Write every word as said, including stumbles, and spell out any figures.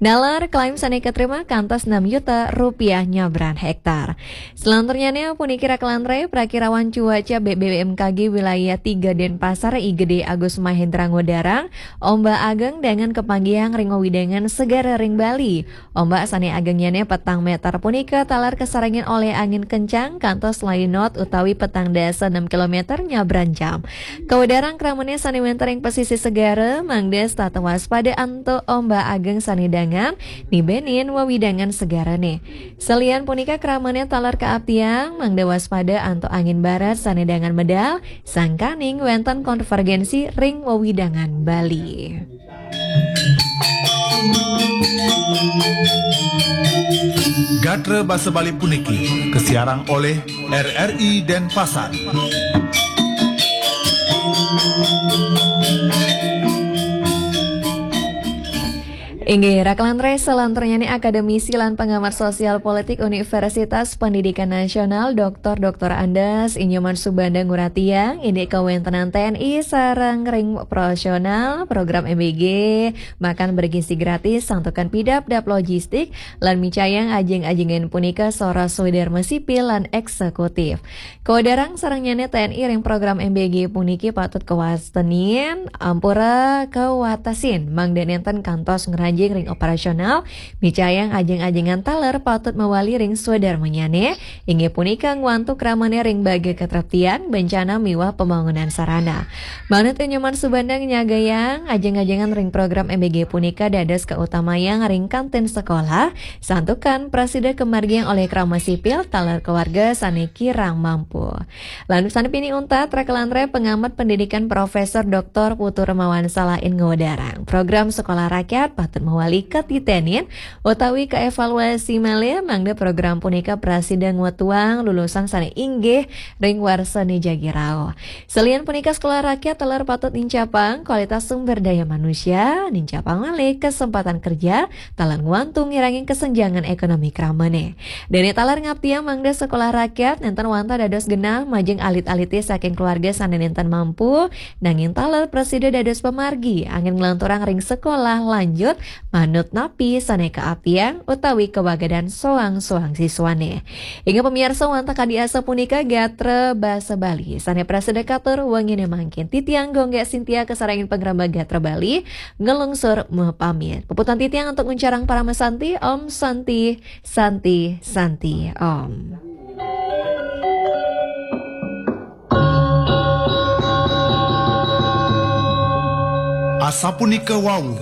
Nalar klaim sané katerima kantos enam juta rupiah nyabran hektar. Selanjutnya nih, puniki rakelan ré, prakirawan cuaca B B B M K G wilayah tiga Denpasar, I G D Agus Mahendra nguadarang, ombak ageng dangan kapanggihang ring wewidangan segara ring Bali. Ombak sané agengnyané petang méter punika taler kasarengin olih angin kencang kantos layu knot utawi petang dasa enam kilometer nyabran jam. Kawedarang kramané sané wénten ring pesisir segara, mangda setata waspada antuk ombak ageng sané dangan, nibenin wewidangan segarané. Salian punika kramané taler kaaptiang, mangda waspada antuk angin barat sané dangan medal, sangkaning wénten konvergensi ring wewidangan Bali. Gatra basa Bali puniki kasiarang olih R R I Denpasar. Inggih, rakelan ré, salanturnyané akademisi lan pengamat sosial politik Universitas Pendidikan Nasional, Doktor Doktor Andes I Nyoman Subanda nguratiang, indik kawéntenan T N I sareng ring operasional program M B G, makan bergizi gratis, santukan pidap dap logistik, lan micayang ajeng-ajengan punika sora swadarma sipil lan eksekutif. Kawedarang sarengnyané T N I ring program M B G puniki patut kawastanin, ampura kawatesin, mangda nénten kantos ngranjing ring operasional, micayang ajeng-ajengan taler patut mawali ring swadarmanyané, inggih punika ngwantu kramané ring baga katreptian, bencana miwah pembangunan sarana. Manut I Nyoman Subanda nyagayang, ajeng-ajengan ring program M B G punika dados kautamayang ring kantin sekolah, santukan prasida kamargiang olih krama sipil taler keluarga sané kirang mampu. Lan sané pinih untat, rakelan ré, pengamat pendidikan Profesor Doktor Putu Remawan Salain nguadarang, program sekolah rakyat patut mawali katitenin utawi kaevaluasi malih, mangda program punika prasida ngwetuang lulusan sané inggih ring warsané jagi rauh. Salian punika, sekolah rakyat taler patut nincapang kualitas sumber daya manusia, nincapang malih kesempatan kerja, taler ngwantu ngirangin kesenjangan ekonomi kramané. Dané taler ngaptiang mangda sekolah rakyat nénten wantah dados genah majeng alit-alité saking keluarga sané nénten mampu, nanging taler prasida dados pamargi anggén nglanturang ring sekolah lanjut manut napi sané kaaptiang utawi kawagadan soang-soang siswané. Inggih pamiarsa, wantah kadi asapunika gatra basa Bali sané prasida katur wenginé mangkin. Titiang Gung Gék Sintia kasarengin pangrembag Gatra Bali nglungsur mapamit. Puputang titiang antuk nguncarang parama santi, Om Santi, Santi, Santi, Om. Asapunika wau